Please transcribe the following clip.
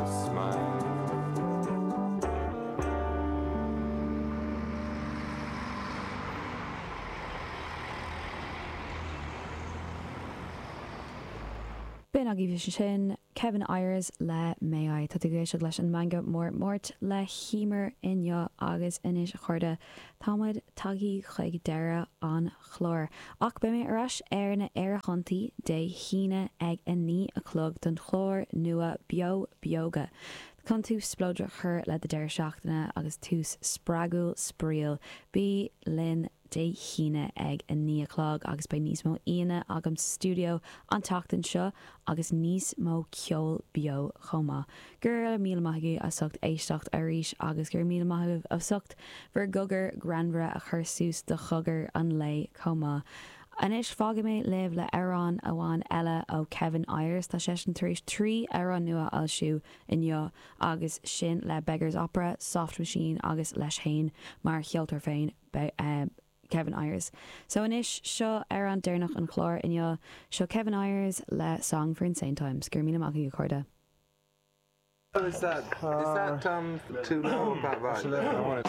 a smile. B'in agaibh ansin Kevin Ayers le May I. Tá tú ag éisteacht leis an Meangadh Mór Máirt le hEmer inniu agus anois a chairde táimid tagthaí chuig deireadh an chláir. Ach beidh mé ar ais ar na aerthonntaí Dé hAoine ag 9 a chlog don chlár nua Beo Beoga chun tús spleodrach a chur le do deireadh seachtaine agus tús spreagúil spraíúil. Bí linn Dé hAoine ag 9 a chlog agus beidh níos mó aíonna agam sa stiúideo an tseachtain seo agus níos mó ceol beo chomh maith. Go raibh míle maith agaibh as ucht éisteacht arís agus go raibh míle maith agaibh as ucht bhur gcogar greannmhara a chur suas do chogar an lae chomh maith. Anois fágfaidh mé libh le amhrán amháin eile ó Kevin Ayers. Tá seisean tar éis 3 amhrán nua a fhoilsiú inniu agus sin le Beggars Opera, Soft Machine agus leis fhéin mar cheoltóir féin. Kevin Ayers. So anois, seo amhrán deireanach an chláir inniu. Seo Kevin Ayers le Song for Insane Times. Go raibh míle maith agaibh, a chairde. Is that is that um too low about right?